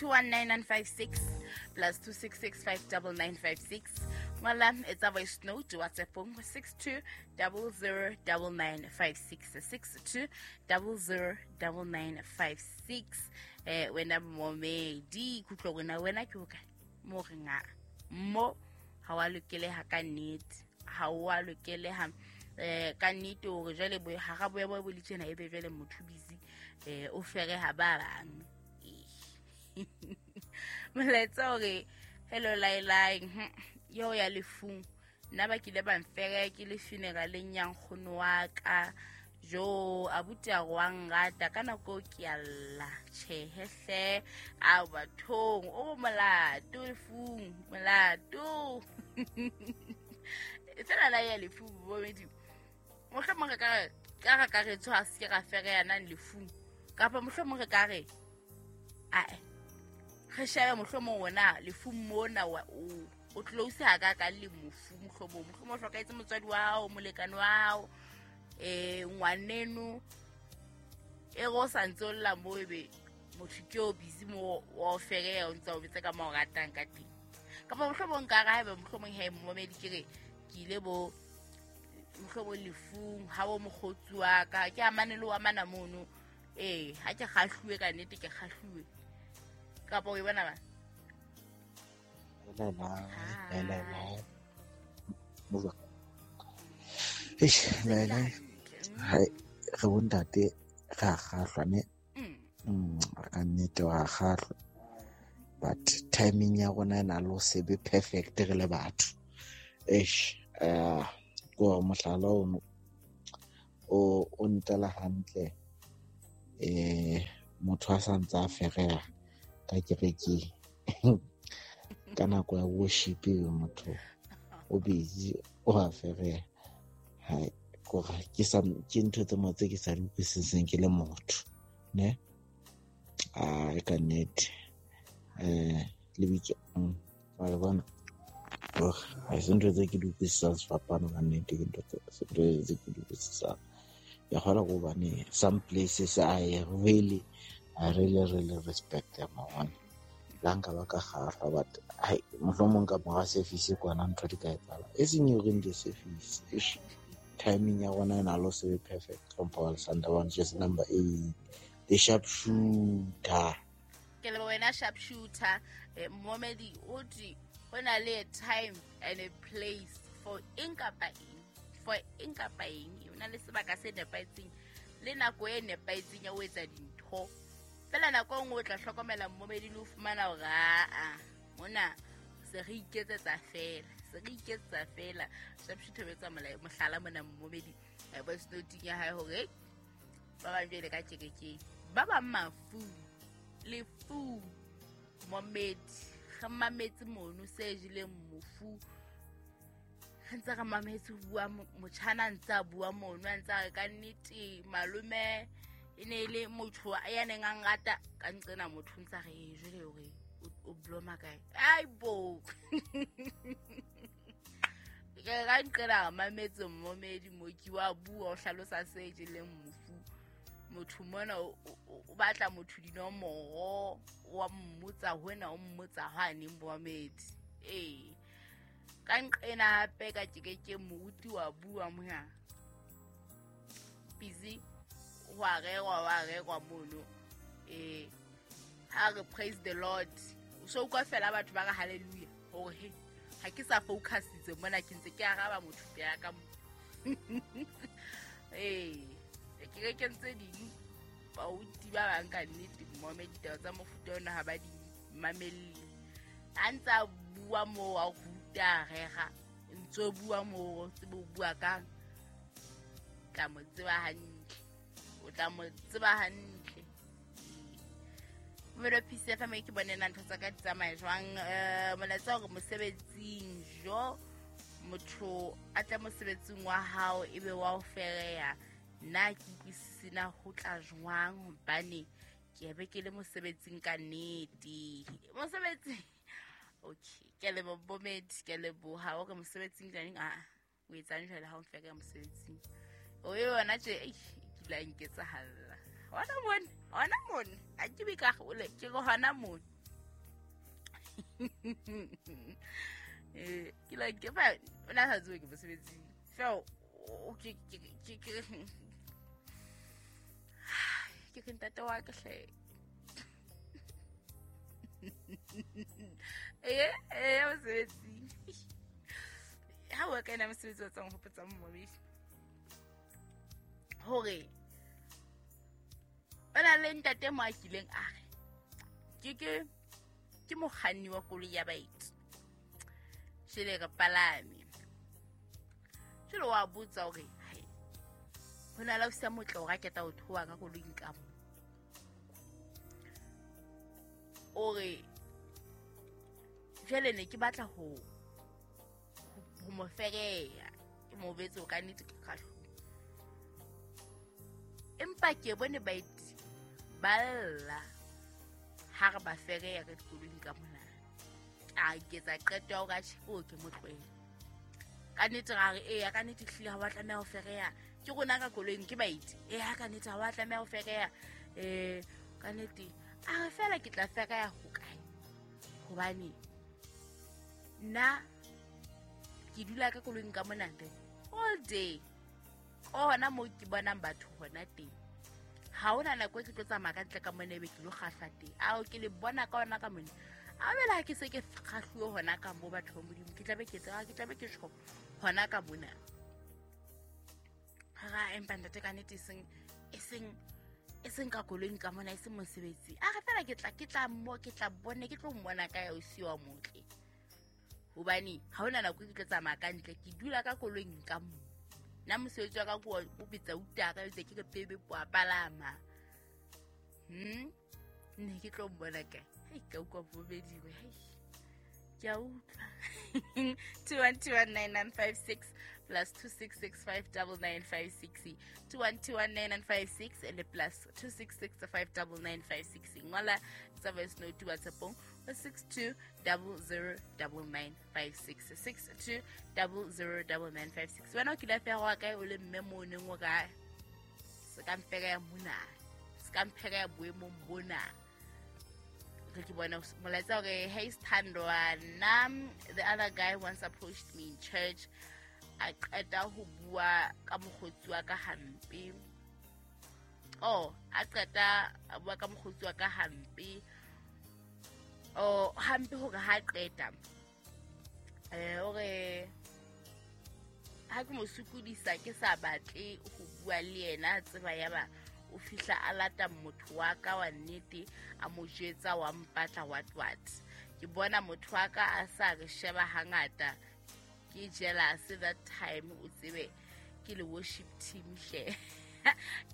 219956 plus 266 ngola etsa voice note whatsappong 62 009956 62 009956. Wena momedi kutlo wena wena ke hokae mo re nga mo ha wa lokeleha ka nnete, ha wa lokeleha ka nnete hore jwale bo ha ga boya bo le tjena ebe jwale motho busy o fereha ba bang. Molaetsa hore hello lai yo ya lefung nna ba kile ba mfere ke le funeraleng ya nkgono wa ka jo abuti a wa nrata ka nako ke a lla tjhehe hle a bathong o molato lefung molato. Fela la ya lefung bomedi mohlomong re ka re ka re tshwa se ra fereana lefung kapa mohlomong re ka re ae re shebe mohlomong wona lefung mona o close ha ka ka le mofu mohlomong mohlomong o hlokaetse motswadi wa hao molekane wa hao ngwaneno e go sa ntse o lla mo ebe motho ke o busy mo wa o fereya o ntse o betse ka mo o ratang ka teng kapa mohlomong ka re haeba mohlomong he momedi ke re ke ile bo mohlomong lefung ha bo mokgotsi wa ka ke amane le wa mana mono ha ke kgahluwe ka nnete ke kgahluwe kapa o e bona ba re bontate re a kgahlwa ne ka nnete wa kgahlwa but timing ya rona e na le ho se be perfect re le batho. Eish ke hore mohlala ono o ntela hantle motho a sa ntse a fereha ka kerekeng ka nako ya worship motho o busy o a fereha. Hai kore ke sa ke ntho tse mo tse ke sa di utlwisiseng ke le motho ne a ka nnete lebitso wa bona hore ha se ntho tse ke di utlwisisang sefapano ka nnete ke ntho tse ke di utlwisisang. Ya kgona go bane some places I really respect them one la nka ba ka kgahlwa but hai mohlomong ka mora service kwana ntho di ka etsahala e seng during the service. Timing ya rona e na le se perfect. Hlompho Alexander one just number 8 the sharpshooter. Ke le wena sharpshooter momedi o di ho na le time and a place for eng kapa eng for eng kapa eng o na le sebaka se nepahetseng le nako e nepahetseng ya ho etsa dintho fela nako e nngwe o tla hlokomela momedi le ho fumana hore aa mona se re iketsetsa fela sharpshooter o etsa mohlala mona momedi voice note ya hae hore ba bang jwale ka kerekeng ba bang mafu lefu momedi re mametse mono se jeleng mofu re ntse re mametse ho bua motjhana ntse a bua mono a ntse a re ka nnete malome e ne e le motho ya neng a nrata ka nqena motho ntse a re jwale hore o bloma kae ai bo ke ka nqena re mametse momedi moki wa bua o hlalosa se jeleng mofu motho mona o batla motho dinomoro wa mmotsa hona o mmotsa hwane momedi ka nqena hape ka ke moruti wa bua moya busy wa rerwa mono ha re praise the Lord so kwa fela batho ba re hallelujah hore he ha ke sa focusitse mona ke ntse ke araba motho ya ka ke ke ntse ding bauti ba bang ka nnete momedi ditaba tsa mofuta ona ha ba di mamelle a ntse a bua mo wa ruta rera ntse bua mo tsebo bua ka tla mo tseba hantle o tla mo tseba hantle Melo Peace FM ke bone na ntho tsa ka di tsamaya jwang molaetsa hore mosebetsing jo motho a tla mosebetsing wa hao ebe wa o fereya nna ke utlwisisina ho tla jwang hobane ke be ke le mosebetsing ka nnete mosebetsing okay ke le bomedi ke leboha hore mosebetsing jang a o etsang jwale ha o mfeka mosebetsing o yona tje ke la nketsahalla hona mona a ke be ka hole ke go hona mona Ke like ke fa o na sa tsebe ke mosebetsing fela ke ke ntate wa ka hle. Mosebetsing ha o ka ena mosebetsi wa tsang hopotsa mmobedi hore o na le ntate mo a kileng a re ke mokganni wa koloi ya baeti jele re palame jele wa botsa hore ho na le o sa motle o raketa ho thoa ka koloing ka mo o re jele ne ke batla ho mo fereya ke mo betse o ka nnete ke kgahlo empa ke bone baeti ba lla ha re ba fereya ka dikoloing ka mona. A ketsa qeto ya hore atjhe o ke mo tlohele ka nnete ra re eya ka nnete hlile ha wa tlameha ho fereya ke rona ka koloing ke baeti eya ka nnete ha wa tlameha ho fereya ka nnete a re fela ke tla fereya ho kae hobane nna ke dula ka koloing ka mona all day hona mo ke bonang batho hona teng ha hona nako e ke tlo tsamaya ka ntle ka mona ebe ke lo kgahla teng ao ke le bona ka hona ka mona a bela ke se ke kgahluwe hona ka mo batho ba Modimo ke tlabe ke tseba ke tlabe ke tjho hona ka mona ha empa ntate ka nnete e seng ka koloing ka mona e seng mosebetsi a re fela ke tla bone ke tlo mmona ka ya o siwa motle hobane ha hona nako ke tlo tsamaya ka ntle ke dula ka koloing ka mo nna mosebetsi wa ka ke o betsa utaka etse ke re bebe po palama ne ke tlo mmona kae hei ka utlwa bobediwe hei ke a utlwa 2121956 plus 266599956 2121956 and plus 266599956 ngola tsa voice note WhatsAppong 62009956 62009956 wena o kile feha kae o le mme mo neng o ka se ka mpeka ya mona se ka mpheka ya boemong bona re ke bona molaetsa hore hey Sithandwa nna the other guy once approached me in church a qeta ho bua ka mokgotsi wa ka hampe a qeta a bua ka mokgotsi wa ka hampe hampe hore ha qeta hore ha ke mo sokodisa ke sa batle ho bua le yena tseba ya ba o fihla a lata motho wa ka wa nnete a mo jetsa wa mpatla what ke bona motho wa ka a sa re sheba hangata ke jealous that time o tsebe ke le worship team hle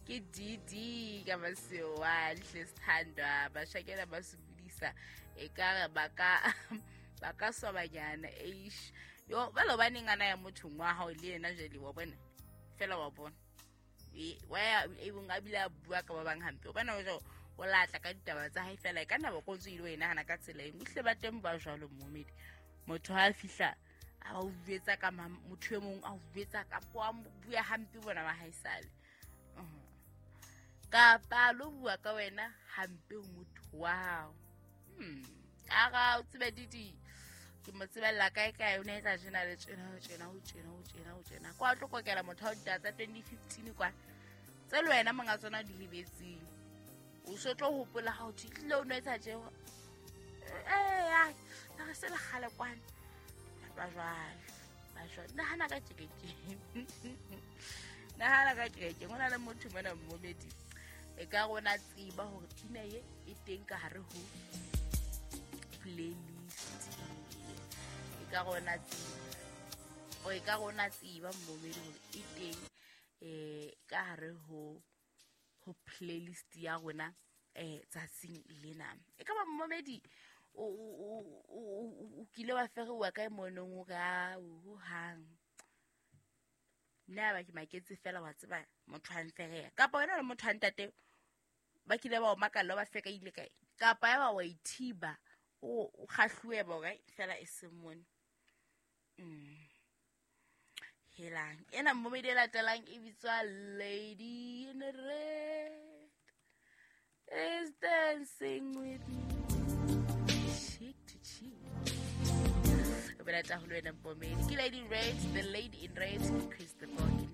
ke DD ka masewa hle Sithandwa ba shakela ba sokodisa e ka re ba ka swabanyana eish yo ba lo baneng ana ya motho wa hao le yena jele wa bona fela wa bona wa ya e bong a bile a bua ka ba bang hampe o bona o o latla ka ditaba tsa hae fela e ka nna ba kontse ile o e nahana ka tsela eng hle ba teng ba jwalo mmomedi motho ha fihla a o buetsa ka motho e mong a o buetsa ka po a bua hampe bona ba haesale kapa lo bua ka wena hampe ho motho wa hao ara o tsebe didi ke mo tsebella kae kae o ne etsa tjena le tjena tjena ho tjena ho tjena ho tjena kwa tlo kokela motho wa ditaba tsa 2015 kwa tse le wena monga tsona di lebetseng o so tlo hopola ha o tlile o no etsa tje a re se le kgale kwana ba jwale nahana ka kerekeng nahana ka kerekeng ho na le motho mona mmomedi e ka rona tseba hore pina ye e teng ka hare ho playlist e ka rona tseba o e ka rona tseba mmomedi hore e teng ka hare ho playlist ya rona tsatsing lena e ka ba mmomedi o kile wa ferewa kae monong o ka o hang nna ba ke maketse fela wa tseba motho a nfereya kapa wena le motho a ntate ba kile ba o makalla ba feka ile kae kapa ya ba wa ithiba o kgahluwe ba kae fela e se mone helang ena mmomedi e latelang e bitswa Lady in Red is dancing with me cheek to cheek. Ke rata haholo wena Mpomedi. Ke Lady Red, the lady in red, ke Chris the Boke.